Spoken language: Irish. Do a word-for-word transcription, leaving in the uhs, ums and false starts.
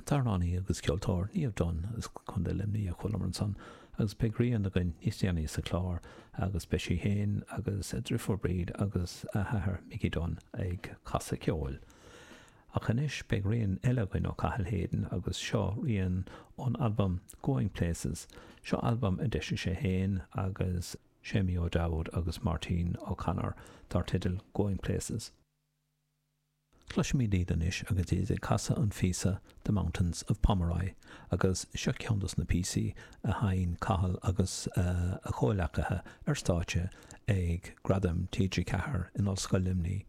An t-amhránaí agus ceoltóir Niamh Dunne as Contae Luimnigh a chualamar ansan agus beidh rian againn níos déanaí sa chlár agus beidh sí féin agus a deirfiúr Bríd agus a hathair Mickey Dunne ag casadh ceoil. Ach anois beidh rian eile againn ó Cathal Hayden agus seo rian ón albam Going Places, seo albam a d'eisigh sé féin agus Séimí O'Dowd agus Máirtín O'Connor dar teideal Going Places. Cloisimid iad anois agus iad ag casadh an phíosa The Mountains of Pomeroy agus seo ceann dos na píosaí a sheinn Cathal agus a chomhleacaithe ar stáitse ag Gradaim TG Ceathair in Ollscoil Luimnigh